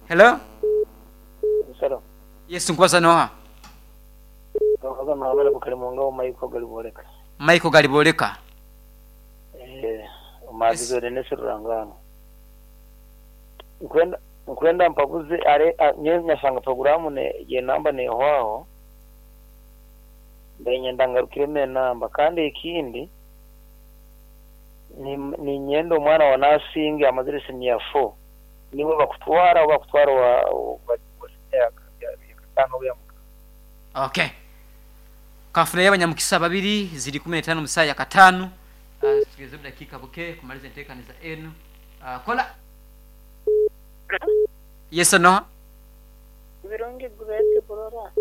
Hello. Hello. Yes, nkubaza noha? Nkubaza Muhammad Bukalimunga Michael Galiboleka. Michael Galiboleka. Eh, omagizo Dennis Rurangano. Nkwenda nkwenda mpabuze are nyowe nyashanga programu ne ye namba nehwaho. Mbe ngarukiremu enamba kandi ekindi ninyenda omwana wa nursing amazire senior 4 niwe bakutwara oba bakutwara wa wa senior ya ya Okay. Kafunayo abanyamukisa babiri ziri 15 mu saa ya katano. Tugeze dakika buke kumaliza enteekaniza enu. Kola. Yes or no? Birungi Grace Burora.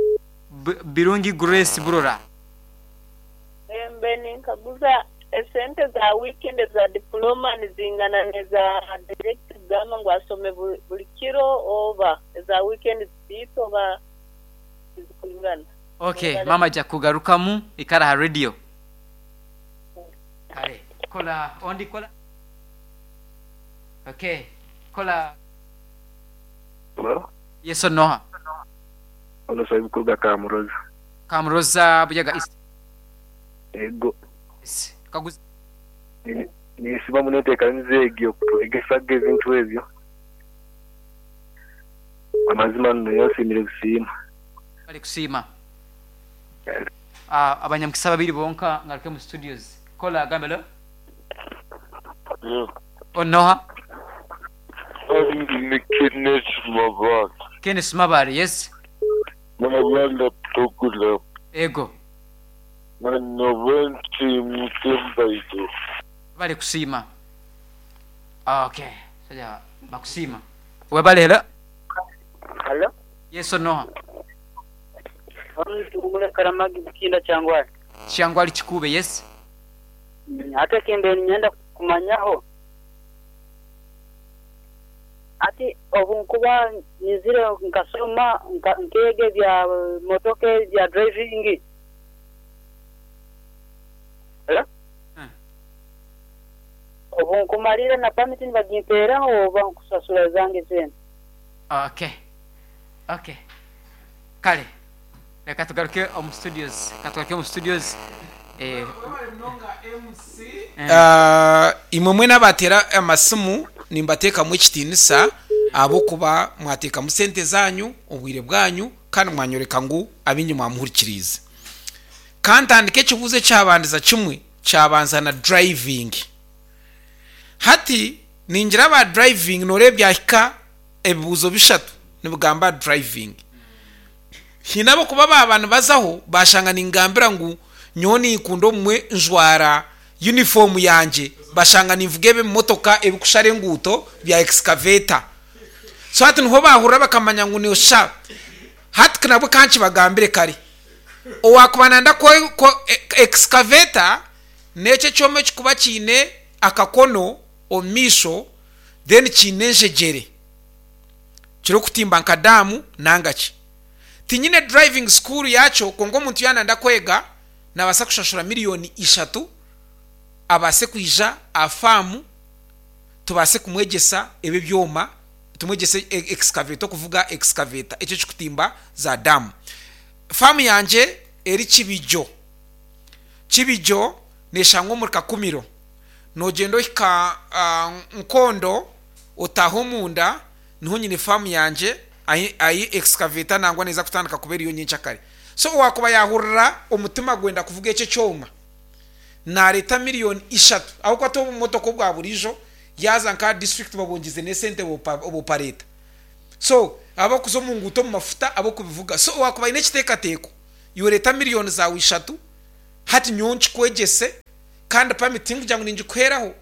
Birungi Grace Burora. Embe ninkaguza esente za weekend za diploma nizingana neza direct kugamba ngu asome buli kiro oba eza weekend ziita oba tizikwingana. Okay, mama aja kugarukamu ikara ha radio. Kale, kola ondi kola. Okay, kola. Hello? Yes or no? Ono Saibu kuruga Kamuroza. Kamuroza Buyaga East. Ego. Yes. Kaguza. Nisiba munenteekaniza egyo okutwegesaga ebintu ebyo. Amazima nno yasiimire kusiima. Bali kusiima. Abanyamukisa babiri bonka ngaruke mu studios. Kola gambelo. Onoha. Ni Kenneth Mabala. Kenneth Mabala, yes. Mabala program. Ego. Manowensi Mutembaito. Bali kusiima. Okay. Saja bakusiima. Webale hello. Hello. Yes or no? Mule Karamagi Bukinda Kyangwali. Kyangwali Kikube, yes. Ate kimbe ninyenda kumanyaho. Ati obu nkuba nyizire nkasoma nkeega ebya motoka ebya driving. Hello? Obu nkumalira na permit nibagimpeeraho oba nkusasura zange zena. Okay. Okay. Kale. Reka tugaruke omu studios. Reka tugaruke omu studios. Eh, Imwe mwena abateera amasimu nimbateekamu ekitiinisa ahabw'okuba mwateekamu sente zaanyu, obwire bwanyu kandi mwanyoreka ngu abaingi mwamuhurikiriize. Ka ntandike ekibuuzo ekyabandiza kimwe kyabanza na driving. Hati ningira aba driving nooreeba byahika ebibuuzo bishatu nibigamba aha driving. Haine ab'okuba baaba nibazaho baashanga ningambira ngu nyowe ninkunda obumwe njwara yunifoomu yangye bashanga ninvuga ebimotoka ebikushara enguuto bya excavator. So hati niho baahurira bakamanya ngu nosha. Hati nabwo ka nkibagambire kare, owaakuba nayenda excavator n'ekyo ekyoma ekirikuba kiine akakono omu maisho then kiine enjegyere kirikutimba nka daamu nanga ki. Tinyine driving school yaakyo kwonka omuntu yaaba nayenda kwega naabaasa kushashura miriyoni ishatu abaase kwija aha faamu tubaase kumwegyesa ebi ebyoma, tumwegyese excavator okuvuga excavator ekyo ekirikutimba za daamu. Faamu yangye eri Kibijo. Kibijo neeshangwa omuri Kakumiro. Noogyenda ohika Nkondo otaaha omunda niho nyine faamu yangye ahi excavator nangwa neeza kutandika kuba eriyo nyenkyakare. So owaakuba yaahurira omutima gwenda kuvuga ekyo ekyoma naareeta miriyoni ishatu ahabw'okuba ti obumotoka obwa buriijo yaaza nk'aha disiturikiti babwongyeze n'esente obupareeta. So abarikuza omu nguuto omu mafuta ab'okubivuga. So owaakuba aine ekiteekateeko iwe reeta miriyoni zaawe ishatu hati nyowe nkikwegyese kandi pamiti tinkugira ngu ningikuheeraho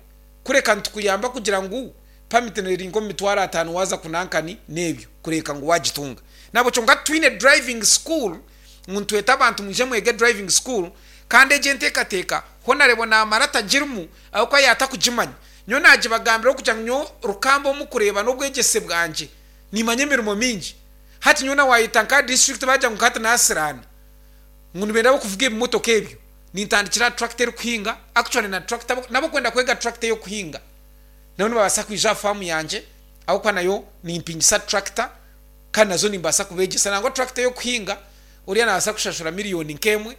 kureka nitukuyamba kugira ngu pamiti eri nk'omu mitwaro ataano waaza kunankani n'ebyo kureeka ngu waagitunga. Nahabwekyo nka titwine driving school ngu nitweta abantu mwije mwege driving school kandi egyo enteekateeka honarebwa naamara atagirimu ahabw'okuba yaatakugimanya. Nyowe naagibagambiraho kugira ngu nyowe Rukamba omu kureeba n'obwegyese bwangye nimanya emirimo mingi. Hati nyowe na waayeta nka disiturikiti baagira ngu hati naasiraana ngu nibenda ab'okuvuga ebimotoka ebyo nintandikira aha tractor erikuhinga actually na tractor n'ab'okwenda kwega tractor ey'okuhinga nabo nibabaasa kwija aha faamu yangye. Ahabw'okuba nayo nimpingisa tractor kandi nazo nimbaasa kubeegyesa. Nangwa tractor ey'okuhinga oriya naabaasa kushashura miriyoni nk'emwe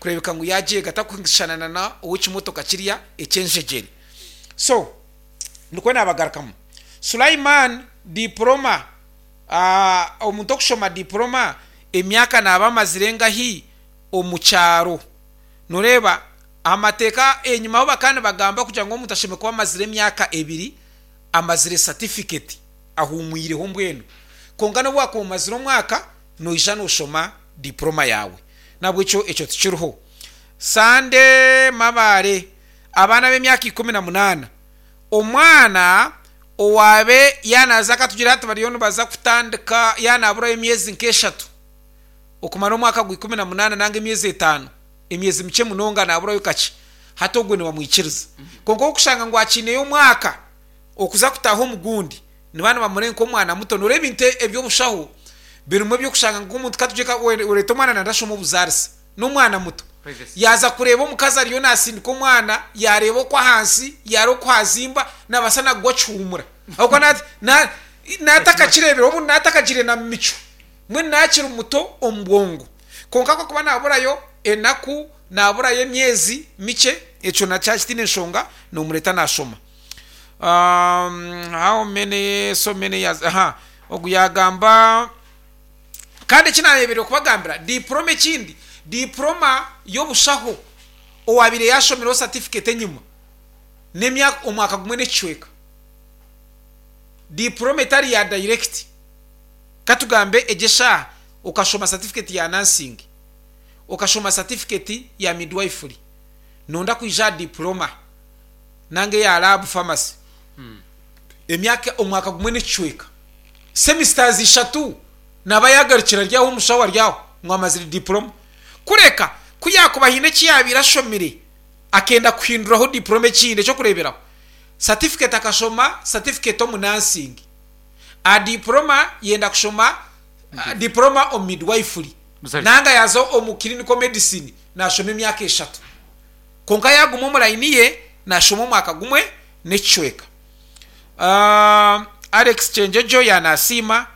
kureebeka ngu yaagyega atakushushana na na ow'ekimotoka kiriya eky'enjegyere. So nikwo naabagarukamu. Sulaiman, Diploma, omuntu okushoma diploma emyaka naaba amazire engahi omu kyaro? Noreeba amateeka enyima aho bakaba nibagamba kugira ngu omuntu ashemereire kuba amazire emyaka ebiri amazire satifiketi ahuumwireho mbwenu. Kwonka n'obu waakuba omazire omwaka noija nooshoma diploma yaawe. N'ahabw'ekyo ekyo tikiriho. Sande Mabaare, Abaana b'emyaka 18, omwana owaabe yaanaaza akatugira hati bariyo nibaza kutandika yaanaaburayo emyezi nk'eshatu okumara omwaka gwa 18 nanga emyezi etaano, emyezi mikye munonga naaburayo kakye, hati ogwo nibamwikiriza. Kwonka orikushanga ngu akiineyo omwaka okuza kutaaha omu gundi, nibaba nibamureba nk'omwana muto. Nooreeba ebintu eby'obushaho birimu eby'okushanga ngu omuntu ka tugire oreeta omwana nanda ashome obuzaarisa, n'omwana muto. Yaaza kureeba omukazi ariyo naasindika omwana, yaareeba okwo ahansi, yaareeba oku haazimba, naabaasa na kugwa kihuumura. Ahabw'okuba naatakakireebire, obundi naatakagiire na mu micwe. Mbwenu naakiri muto omu bwongo. Kwonka ku arikuba naaburayo enaku, naaburayo emyezi mikye, ekyo nakyo kitaine nshonga, noomureeta naashoma. How many, so many years, aha, ogu yaagamba. Kandi eki naayebereire kubagambira, diploma ekindi, diploma y'obushaho owaabaire yaashomireho satifiketi enyima, n'emyaka, omwaka gumwe n'ekicweka. Diploma etari ya dayirekiti. Ka tugambe egyo eshaaha okashoma satifiketi ya nursing, okashoma satifiketi ya midwifery, noonda kwija aha diploma nanga eya lab pharmacy, emyaka omwaka gumwe n'ekicweka, semisters ishatu naaba yaagarukira ari aho omushaho ari aho ngu amazire diploma. Kureka ku yaakuba haine eki yaabaire ashomire akenda kuhinduraho diploma ekindi, eky'okureeberaho satifiketi akashoma satifiketi omu nursing, Aha diploma yenda kushoma diploma omu midwifery nanga yaza omu clinical medicine nashoma emyaka eshatu kwonka yaguma omu line ye nashoma omwaka gumwe nekicweka. Alex Kyenjojo yanasiima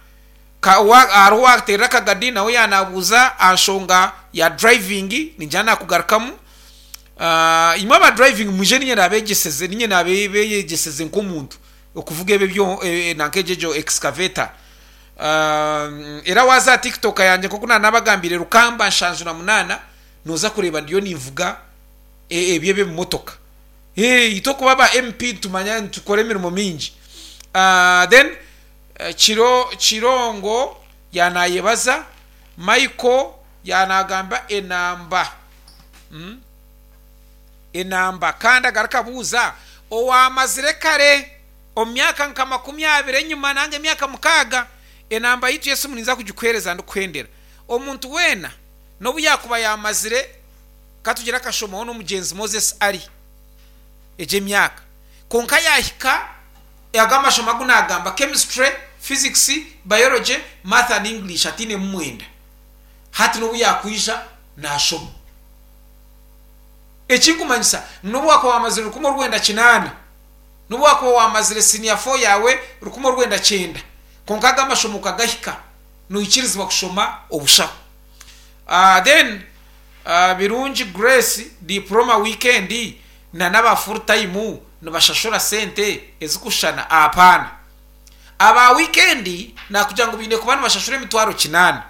hariho owaterera akagadi nawe yanabuuza aha nshonga ya driving ningira nakugarukamu. Imwe aba driving mwije ninye nabegyeseze ninye nabeyegyeseze nk'omuntu. Okuvuga ebyo byo nanka egyo egyo excavator. Era waaza aha TikTok yangye nk'oku naanabagambiire Rukamba 78 nooza kureeba ndiyo ninvuga ebyo eby'ebimotoka. Itwe okuba aba MP nitumanya nitukora emirimo mingi. Then Kiro Kirongo yaanayebaza, Michael yaanagamba enamba. Enamba. Kandi agaruka abuuza, Owaamazire kare omu myaka nka 20 enyima nanga emyaka 6, enamba yaitu y'esimu ninza kugikuheereza ndikuhendera. Omuntu weena, n'obu yaakuba yaamazire, ka tugire akashomaho n'omugyenzi Moses Ali egyo emyaka, kwonka yaahika ago amashomo agu naagamba, Chemistry, Physics, Biology, Math and English atainemu mwenda, hati n'obu yaakwija naashoma. Ekinkumanyisa ngu n'obu waakuba waamazire 1980, n'obu waakuba waamazire siniya fo yaawe 1990, kwonka ago amashomo okagahika, noikirizibwa kushoma obushaho. Then Birungi Grace, diploma wiikendi na n'aba full time nibashashura sente ezikushushana? Apaana. Aba wiikendi naakugira ngu baine kuba nibashashura emitwaro kinaana.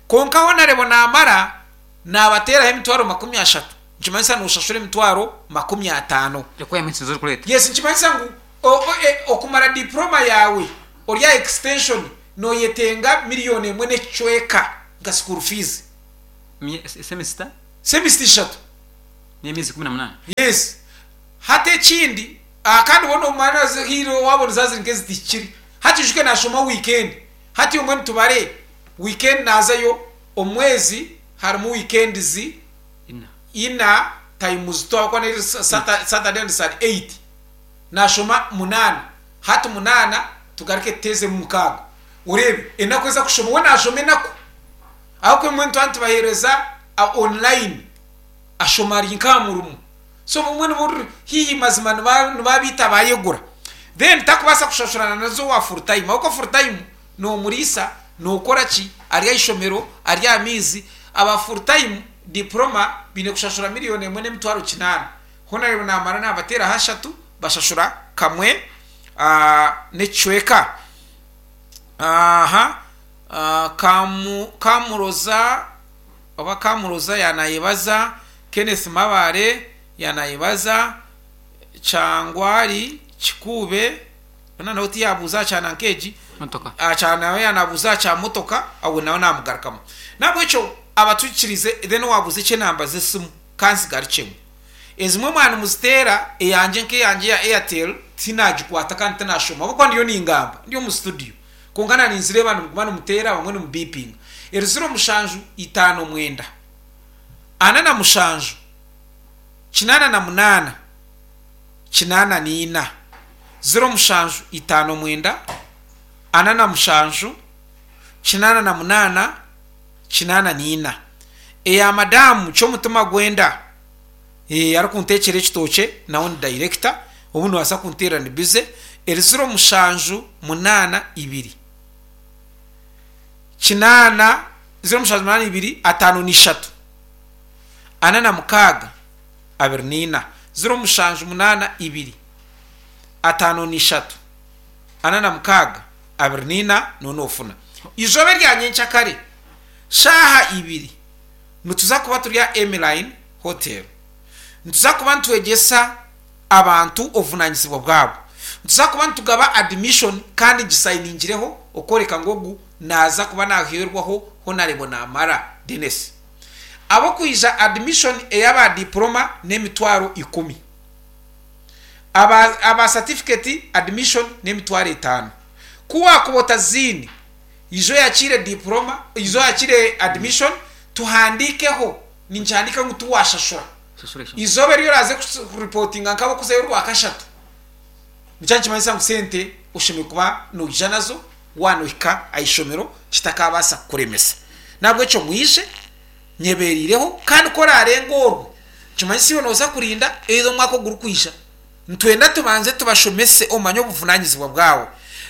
Kwonka Honarebo naamara Naabateeraho emitwaro 30, nikimanyisa nooshashura emitwaro 50. Requirements nizo orikureeta. Yes, nikimanyisa ngu okumara diploma yaawe ori aha extension nooyetenga miriyoni emwe n'ekicweka nka school fees. Semester? Semester ishatu. N'emyezi 18. Yes. Hati ekindi, kandi bo noomanya haine waabona zaaba ziri nk'ezitahikire. Hati oijuke naashoma weekend, hati mbwenu tubare weekend naazayo Omwezi harimu weekends ina times two ahabw'okuba neri Saturday and Sunday eight nashoma munaana hati munaana tugaruke tuteezemu mukaaga oreebe enaku ezi akushoma we nashoma enaku ahabw'okuba ebimwe nituba nitubaheereza online ashoma ari nk'aha murimo so obumwe niba ori haihi mazima nibaba beitu abayegura. Then takubaasa kushashurana nazo owa full time ahabw'okuba full time nomuriisa, nokora ki, ari aha ishomero, ari aha maizi. Aba full time diploma baine kushashura miriyoni emwe n'emitwaro kinaana. Hoona namara nabateeraho ashatu bashashura kamwe n'ekicweka. Aha Kamuroza oba Kamuroza yanayebaza, Kenneth Mabare yanayebaza, Kyangwari Kikuube hoona nawe tiyabuuza aha kya nanka egi, aha nawe yanabuuza aha kya motoka awe nawe namugarukamu. Nahabwekyo abatukirize then wabuuza eky'enamba z'esimu kanzigarukyemu. Ezimwe mwaba nimuziteera eyangye nk'eyangye eya Airtel tinagikwata kandi tinashoma ahabw'okuba ndiyo ningamba ndi omu studio kwonka na ninzireeba nimuguma nimuteera abamwe nimubipinga. Eri ziro mushanju itaano mwenda ana na mushanju 88 84 ziro mushanju itaano mwenda 47 88 84. Eya madamu Ky'omutima Gwenda eh, arikunteekyera ekitookye nawe ni dayirekita, obu noobaasa kunteerera ndi bize, eri ziro mushanju munaana ibiri kinaana ziro mushanju munaana ibiri ataano na ishatu 46 24 0 7 8 2 53 46 24 noona noofuna. Eizooba erya nyenkyakare shaaha ibiri nituza kuba turi aha Emmeline Hotel. Nituza kuba nitwegyesa abantu obuvunaanyizibwa bwabo. Nituza kuba nitugaba admission kandi ngisayiningireho okworeka ngu ogu naaza kuba naaheerwaho Honarebo Naamara Denis. Ab'okwija admission ey'aba diploma n'emitwaro ikumi. Aba aba certificate admission n'emitwaro etaano. Ku waakuba otaziine, ija oyakiire diploma, ija oyakiire admission tuhandiikeho, ninkihandiika ngu tiwaashashura. Eizooba eri oraaze kuripotinga nk'abarikuzayo orwakashatu, nikyo nikimanyisa ngu sente oshemereire kuba noija nazo waaba nohika aha ishomero kitakaabaasa kukuremesa. N'ahabw'ekyo mwije nyebeereireho kandi ku oraarenga orwo, nikimanyisa iwe nooza kurinda either omwaka ogurikwija. Nitwenda tubanze tubashomese omanye obuvunanyizibwa bwawe.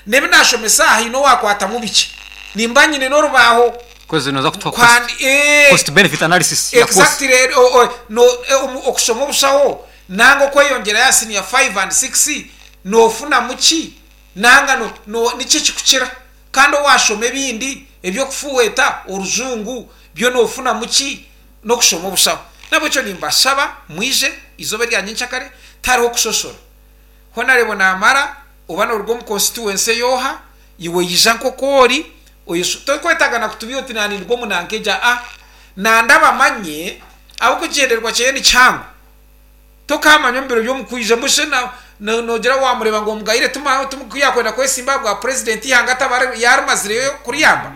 N'ebi nashomesa aha haine owakwatamu bikye. Nimba nyine n'orubaaho Kozi noza kutuha cost, kwandi eeh cost benefit analysis ya course. exactly o o no omu okushoma obushaho nanga okweyongyerayo aha senior 5 and 6 nofunamu ki nanga no no niki ekikukira kandi owashoma ebindi eby'okufuhweta orujungu byo nofunamu ki n'okushoma obushaho. N'ahabw'ekyo nimbashaba mwije eizooba erya nyenkyakare, tihariho kushoshora. Honareebo naamara, oba nooruga omu konsituwensi ey'oha, iwe ija nk'oku ori, oyeshu, torikwetaaga na kutubiiha oti naaninduga omu nanka egi, aa. Nanda bamanye ahabw'okugyendererwa kyeye ni kihango. Tokaamanya omu biro by'omukwija, mbwenu shi na, na, noogira waamureeba ngu omugayire tuma, tuma, ku yaakwenda kwesimba aha bwa purezidenti eihanga ataba yaarimazireyo kuriyamba?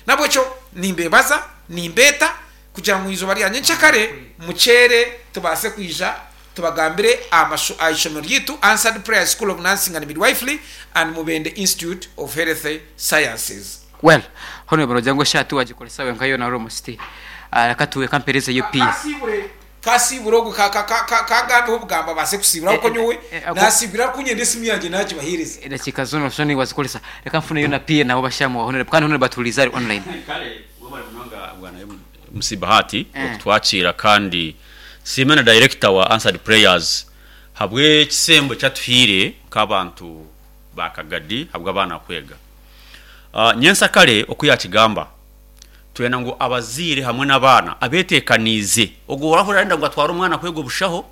N'ahabw'ekyo nimbeebaza, nimbeeta. kugira ngu eizooba rya nyenkyakare mukyere tubaase kwija tubagambire aha ishomero ryaitu Answered Prayers School of Nursing and Midwifery and Mubende Institute of Health Sciences. Well, hono nogira ngu eshaaha tiwagikoresa wenka yoona almost. Reka tu reka mperezeyo pia. Kasiibure kasiibure ogwo kagambeho obugambo abaase kusiibura ahabw'okuba nyowe nasiibwire arikunyenda esimu yangye nagibaheereza. Edakiika zoona noshusha niiwe wazikoresa. Reka nfuneyo na pia nabo bashaamu wa Honourable kandi Honourable atuhuriize ari online. Kare webare munonga bwana MC Bahati okutwakiira kandi nsiime na director wa Answered Prayers habw'ekisembo eki atuhaire nk'abantu ba Kagadi habw'abaana kwega. Nyensakare oku yakigamba twenda ngu abazaire hamwe n'abaana abeteekaniize, ogwo orahurira arenda ngu atware omwana kwega obushaho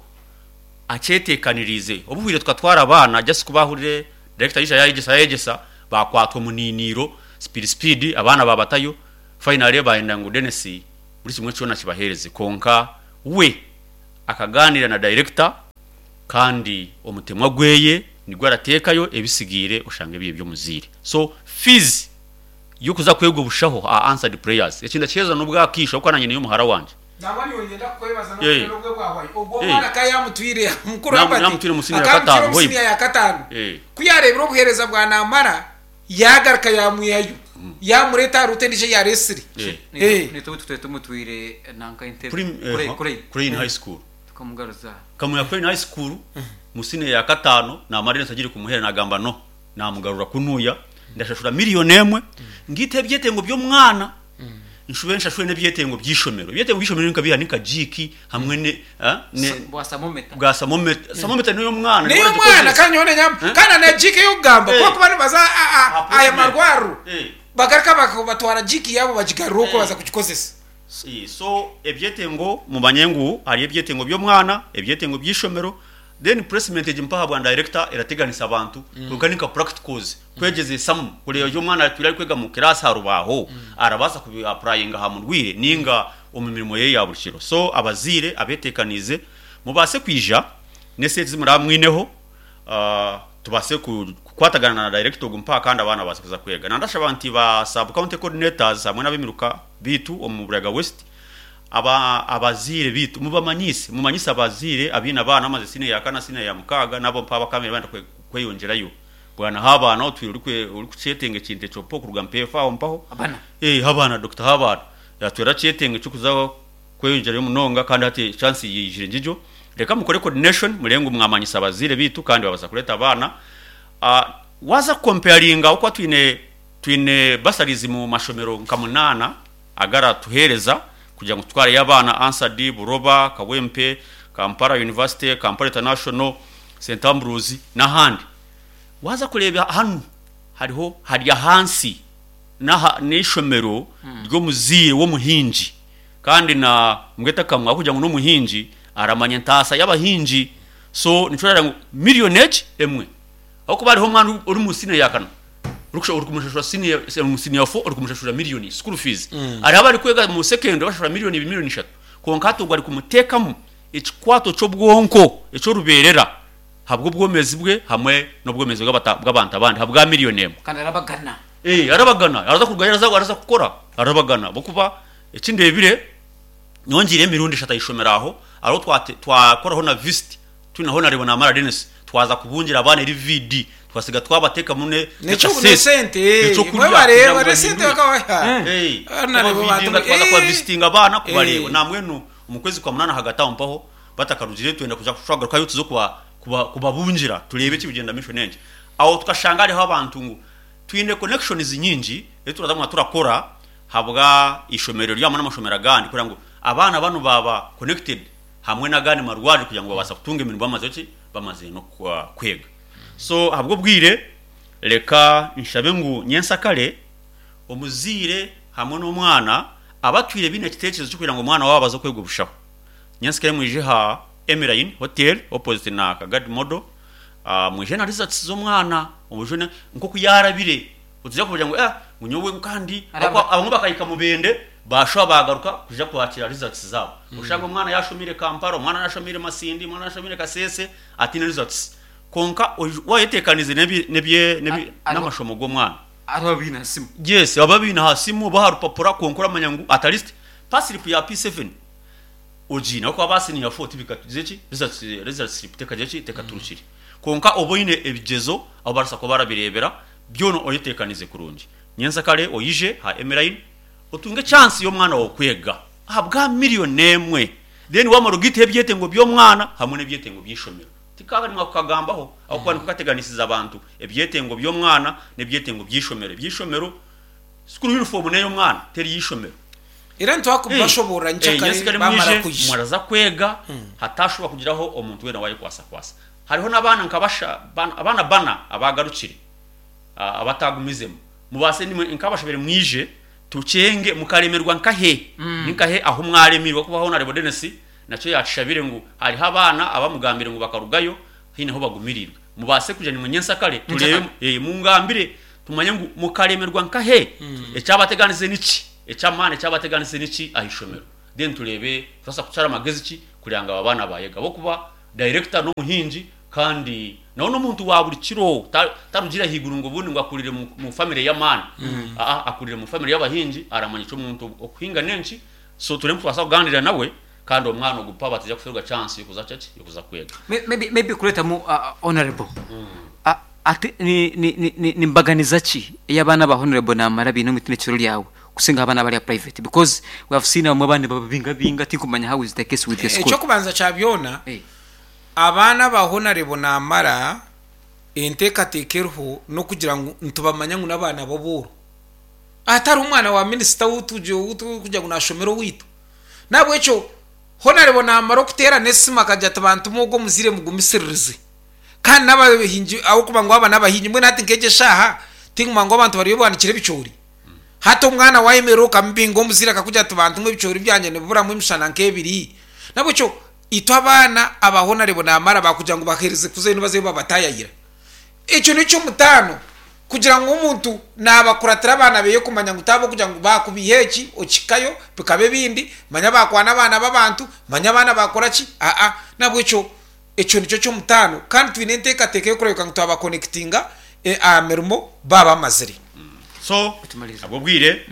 akyeteekaniriize. Obuhwire tukatwara abaana just ku baahurire director yaija yayegyesa yayegyesa baakwatwa omuniiniiro speed speed abaana baabatayo finally baayenda ngu Denis buri kimwe kyona akibaheereze kwonka we akagaaniira na director kandi omutemwa gweye nigwo arateekayo ebisigaire oshange biri eby'omuzaire. So fees y'okuza kwega obushaho aha Answered Prayers eki ndakiheereza n'obwakaisho ahabw'okuba naanye niyo muhara wangye. Nangwa nyowe niinyenda kukwebaza n'obwire n'obwe bwahwayo. Ogwo omwana ka yaamutwire mukuru Albert, Naamutwire omu siniya ya akaamutwire kataano omu siniya ya kataano. Ku yaareebire obuheereza bwa naamara, yaagaruka yaamwihayo, yaamureeta aha ruutu endiijo ei yaareetsire. Naitwe obu tutwire tumutwire nanka Entebbe, Crane. Crane High School. Tukamugaruza. Nkamwiha Crane High School mu siniya ya kataano, naamara ensi agire kumuheera naagamba no, naamugarura kunuya, ndashashura miriyoni emwe, ngiite ebyetengo by'omwana, nshube nshashure n'ebyetengo by'eishomero. Ebyetengo by'eishomero ni nka biiha? Ni nka jiiki hamwe ne ne Bwa samometa. bwa samometa. Samometa n'ey'omwana N'ey'omwana niwe kandi nyowe nenyamba kandi na jiiki ey'okugamba Eh. ku barikuba nibaza Aha aya placement. marwariro Eh. bagaruka batwara jiiki yaabo bagigarura okwo Eh. baza kugikozesa. So ebyetengo mumanye ngu hariyo ebyetengo by'omwana, ebyetengo by'eishomero, then placement egi mpaha bwa director erateganisa abantu kwonka ni nka practicals kwegyezesamu kureeba eki omwana atwire arikwega mu class aha rubaaho arabaasa kubi applyinga aha murwaire ninga omu mirimo ye ya buri kiro. So abazaire abeteekaniize mubaase kwija n'esente ezi muraba mwineho tubaase kukwatagana na director ogu mpaha kandi abaana babaase kuza kwega. Nandashaba nti ba sub county coordinators hamwe n'ab'emiruka biitu omu Buraga West aba abazaire biitu mubamanyiise mumanyise abazaire abaine abaana bamaze siniya ya kana siniya ya mukaaga n'abo mpaha abakabaire barenda kweyongyerayo. Bwana h'abaana otwire orikukyetenga ekintu ekyo mpaho kuruga mpeefa aho mpaho. Abana. Eh h'abaana Doctor h'abaana yatwire arakyetenga eky'okuza kweyongyerayo munonga kandi hati chance yaijire ngigyo. Reka mukore coordination mureebe ngu mwamanyisa abazaire baitu kandi babaasa kureeta abaana. Waaza kukomparinga ahabw'okuba twine twine bursaries mu mashomero nka munaana agaratuheereza kugira ngu tutwareyo abaana, Ansad, Buroba, Kawempe, Kampala University, Kampala International, Saint Ambrose n'ahandi. Waaza kureeba hanu hariho hari ahansi n'aha n'eishomero ry'omuzaire w'omuhingi kandi na mbwenu akamwa ahabw'okugira ngu n'omuhingi aramanya entaasa y'abahingi so nikyo orareeba ngu miriyoni egi emwe ahabw'okuba hariho omwana ori omu siniya ya kana orikumushashura siniya omu siniya fo orikumushashura miriyoni school fees hariho abarikwega omu secondary bashashura miriyoni ibiri miriyoni ishatu kwonka hati ogwo arikumuteekamu ekikwato ky'obwonko eky'orubeerera Ahabw'obwomezi bwe hamwe n'obwomezi bw'abantu abandi ahabwa miriyoni emwe. Kandi arabagana. Ee, arabagana. Araza kurugayo araza araza kukora, arabagana. Ahabw'okuba eki ndeebire, nyowe ngiireyo emirundi eshatu aha ishomero aho, hariho twate twakoraho na visit, twine Honarebo Namara Denis, twaza kubungira abaana eri VD, twasiga twabateekamu ne N'ekyo n'ekasente, n'esente, ee, ekyokurya mwebare kugira ngu n'esente bahindure. bakabaha. Ee, Honarebo kubavidinga, bantu, twaza ee, kubavisitinga abaana kubareeba. ee. Nambwenu omu kwezi kwa munaana ahagati aho mpaho, Batakarugireyo twenda kuza twagarukayo tuze kubabungira tureebe ekirikugyenda omumaisho n'enki. Aho tukashanga hariho abantu ngu twine connections nyingi ezi turaza kuguma turakora ahabwa eishomero eri hamwe n'amashomero agandi kureba ngu abaana banu baaba connected hamwe n'agandi marwariro kugira ngu babaasa kutunga emirimo bamaze ki bamaze n'okwega. So ahabw'obwire reka nshabe ngu nyensakare omuzaire hamwe n'omwana abatwire baine ekiteekyerezo ky'okugira ngu omwana waabo aze kwega obushaho. Nyensikare mwije aha Emeline Hotel opposite na Kagadi Model mwije na results z'omwana omujune nkoku yarabire otuza kugira ngu eh ngu nyowe kandi Araba. abamwe bakahika Mubende bashuba bagaruka kuja kwakira results zabo oshanga omwana yashomire Kampala omwana yashomire Masindi omwana yashomire Kasese atine results konka wayetekanize nebi nebye nebi n'amashomo g'omwana Hariho ababiine aha simu. Yes ababiine aha simu oba aha rupapura kwonka oramanya ngu at least paslip ya P7 Ogiine ahabw'okuba ba senior four tibikatugize ki, results result slip tekagira ki, tekaturukire. Kwonka oba oine ebigyezo ahu barikubaasa kuba barabireebera, byona oyeteekanize kurungi. Nyentsakare oije aha Emeline otunge chance y'omwana waawe kwega ahabwa million emwe then waamara ogaiteho ebyetengo by'omwana hamwe n'ebyetengo by'eishomero. Tikaaba kukagambaho ahabw'okuba nikukateganisiza abantu ebyetengo by'omwana n'ebyetengo by'eishomero. Eby'eishomero School uniform n'ey'omwana teri y'eishomero. Era nitwakubashoboorora nkyakare Nyensikare bamara mwije kwija. mwaraza kwega hatashuba kugiraho omuntu weena owayekwasakwasa. Hariho n'abaana nka basha abaana bana abaagarukire abatagumizemu. Mubaase nimwe nk'abashabire mwije tukyenge mukaremerwa nkahe? Ninkahe ahu mwaremirwe? Ahakuba Honarebo Denis nakyo yaakishabire ngu hariho abaana abamugambire ngu bakarugayo haine ahu bagumiriirwe. Mubaase kwija nimwe nyensakare tureebe mungambire Tumanye ngu mukaremerwa nkahe, ekyabateganisize niki, eky'amaani ekyabateganisize niki aha ishomero. Then tureebe turabaasa kushara magezi ki kureba ngu aba baana baayega. Ahabw'okuba dayirekita n'omuhingi kandi nawe n'omuntu wa buri kiro, tarugire ahaiguru ngu obundi ngu akurire mu famire y'amaani. Aa, akurire mu famire y'abahingi, aramanya eki omuntu okuhinga n'enki. So tureebe ngu twabaasa kugaaniira nawe kandi omwana ogu mpaho bataija kufeerwa chance y'okuza ki, y'okuza kwega. Maybe kureetamu honourable, Ati ni, ni, ni, ni, ni mbaganiza ki ei abaana ba Honourable Namara baine omu itendekero ryawe? Kusinga abaana abari aha private because we have seen abamwe abaana nibababingabinga tinkumanya how is the case with the school. Eky'okubanza kya byona, abaana aba Honarebo Namara enteekateeka eriho n'okugira ngu nitubamanya ngu n'abaana b'obuuro. Hatariho mwana wa minisita ou turikugira ngu naashomera owaitu. N'ahabw'ekyo Honarebo naamara okuteerana esimu akagira ati bantumwe ogwo omuzaire mugumisiririze. Kandi n'abahingi ahabw'okuba ngu aba n'abahingi mbwenu hati nk'egi eshaaha tinguma ngu abantu bariyo baanikire ebicoori. Hati omwana waayemerera okamubinga omuzaire akakugira ati bantumwe ebicoori byangye nibiburamu emishana nk'ebiri. N'ahabw'ekyo itwe abaana aba Honarebo Namara baakugira ngu baheereze kuzayo nibazayo babataayayira. Ekyo n'eky'omutaano kugira ngu omuntu naabakuratira abaana beye kumanya ngu t'ahabw'okugira ngu baakubiiha eki okihikayo bikaba ebindi, manya baakwana abaana b'abantu, manya abaana baakora ki, aa. N'ahabw'ekyo ekyo nikyo ky'omutaano kandi twine enteekateeka y'okureebeka ngu twabakonekitinga aha mirimo baaba bamazire. So ahabw'obwire,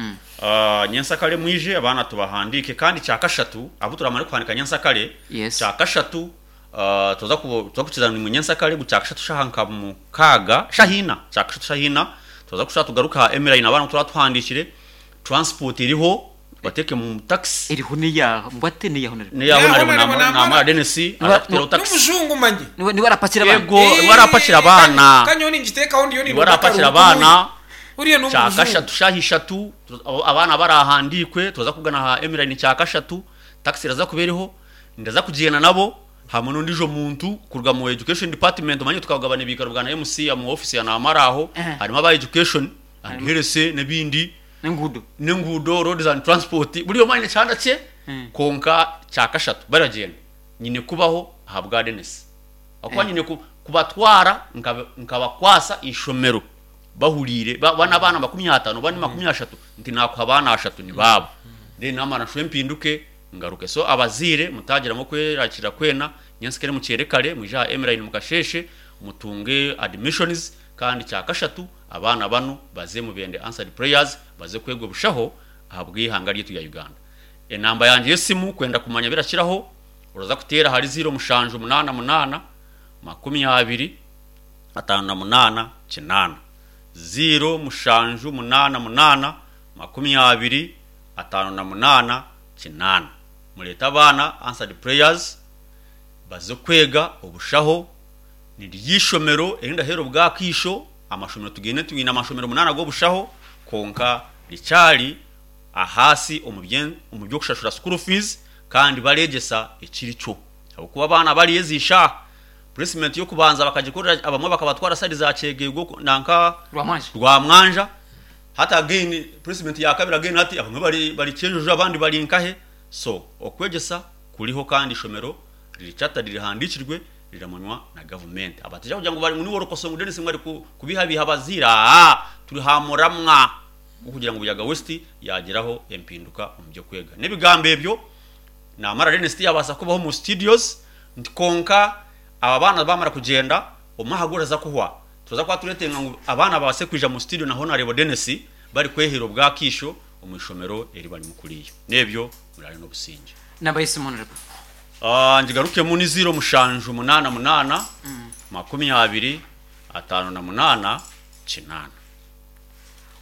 nyensakare mwije abaana tubahandiike kandi kyakashatu abu turamare kuhandiika nyensakare, kyakashatu Twaza kukiza nimwe nyensakare ngu kyakashatu shaha nka mukaaga shaha ina kyakashatu shaha ina twaza kushusha tugaruke aha Emiline abaana abu turaba tuhandikire transport eriho tubateeke mu taxi. Eriho neya mbwate neya Honorable. Neya Honorable Namara Denis araza kuteeraho taxi. N'omujungu manye. Niwe arapakira abaana. Yego niwe arapakira abaana. Ka nyowe ningiteekaho ndiyo Niwe arapakira abaana. Kyakashatu shaha ishatu abaana barahandiikwe twaza kubugana aha Emiline kyakashatu taxi eraza kuba eriho. Ndaza kugyenda nabo hamwe n'ondiijo muntu kuruga mu education department omanye tukagabana ebiikaro bwa na MC omu office ya Namara aho harimu aba education and health n'ebindi N'enguudo. n'enguudo roads and transport buri omwe aine ekihanda kye kwonka kyakashatu baragyenda nyine kubaho ahabwa Denis ahakuba nyine kubatwara nkabakwasa eishomero bahuriire ba n'abaana 50 oba ni 30 nti naakuha abaana ashatu ni baabo then naamara nshube mpinduke Ngaruke. So abazaire mutagiramu okwerarikirira kwena, nyensikare mukyere kare mwije aha Emeline mukasheeshe mutunge admissions kandi kyakashatu abaana banu baze mubende Answered Prayers baze kwega obushaho ahabw'eihanga ryaitu rya Uganda. Enamba yangye y'esimu kwenda kumanya birakiraho oraza kuteera ahari ziiro mushanju munaana munaana 20 58 8. Ziiro mushanju munaana munaana 20 58 8. Mureete abaana Answered Prayers baze kwega obushaho. Niryo eishomero eri ndaheera obwakaisho. Amashomero tugaine twine amashomero munaana g'obushaho kwonka rikyari ahaasi omu by'okushashura school fees kandi bareegyesa ekiri kyo. Ahabw'okuba abaana bariyo ezi shaaha placement y'okubanza bakagikorera abamwe bakabatwara side za Kyegegwa nanka Rwamwanja. Hati again placement ya kabiri again hati abamwe bari bari Kyenjojo abandi bari nkahe so okwegyesa kuriho kandi ishomero riri chartered rihandikirwe riramanywa na government abatija kugira ngu bari ngu niwe orikosora ngu Denis ngu ari kubihabiha abazaire aah turi ha muramwa gw'okugira ngu Buyaga West yagiraho empinduka omu by'okwega n'ebigambo ebyo namara Denis tiyabaasa kubaho omu studios nti kwonka aba baana bamara kugyenda omwaha guraza kuhwa Turaza kuba turetenga ngu abaana babaase kwija mu studio na Honarebo Denis bari kweheera obwakaisho omu ishomero eri barimu kuriya. N'ebyo muraare n'obusingye. Namba y'esimu Honorable. Ngigarukemu ni ziiro mushanju munaana munaana 20 58 8.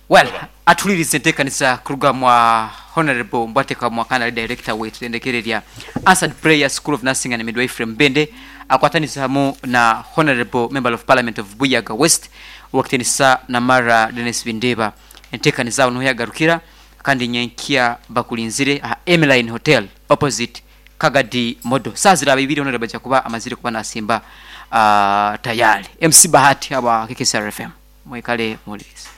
Well, atuhuririze enteekanisa kuruga mwa Honorable Mbwatekamwa Mwakana ari Director w'eitendekero erya Answered Prayer School of Nursing and Midwifery Mubende akwatanise hamu na Honorable Member of Parliament of Buyaga West Owekitiinisa Namara Denis Bindeeba. Enteekaniza aho niho yagarukira kandi nyenkya bakurinzire aha Emline Hotel opposite Kagadi Model. Saaha ziraaba ibiri Honorable aija kuba amazire kuba nasimba tayari. MC Bahati aba KKCR FM. Mwikale muhuririze.